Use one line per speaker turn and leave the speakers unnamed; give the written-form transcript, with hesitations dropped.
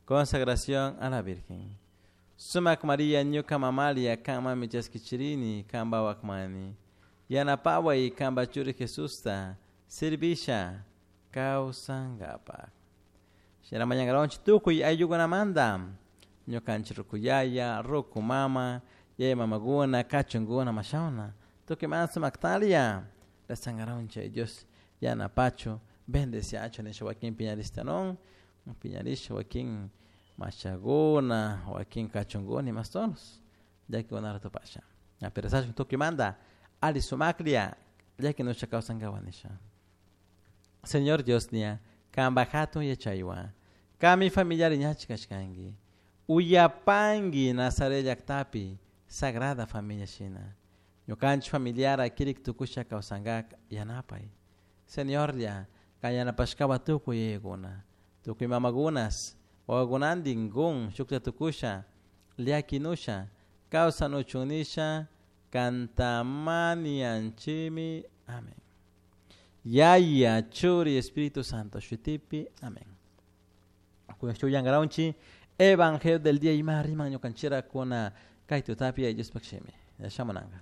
Consagración a la Virgen. Sumac María ñuka mamalia kanmanmi chaskichirini kanpa wakmani. Yanapaway kanpa churi Jesusta servisha kawsankapak. Shina mañankaronchik tukuy ayllukunamanta ñukanchik ruku yaya, ruku mama, yaya mamakuna, kachunkuna mashawna tukuy mana sumaktalia rezankaronchik Dios yanapachu bendeciachu nisha wakin piñarishta piñarisha wakin mashakuna, wakin kachunkuna imastonos llakikunata tupasha. Pero rezashun tukuymanta ali sumaklla llakinusha kawsankapak nisha. Señor Dios nia, kanpak hatun yachaywan, kanmi familiari ñachik kashkanki, uyapanki Nazaret llaktapi Sagrada Familia shina. Ñukanchik familiara kirik tukusha kawsankak yanapay. Señorlla, kan yanapashkawan tukuy yayakuna, tukuy mamakunas, wawakunantin kun shuklla tukusha, llakinusha, kawsanuchun nisha, kantamanianchimi. Amén. Yaya, Churi, Espíritu Santo, shutipi. Amén. Kuyankaronchi, Evangelio del día ima riman ñukanchira kuna kay tutapi Diospaq shimi. Shamunanka.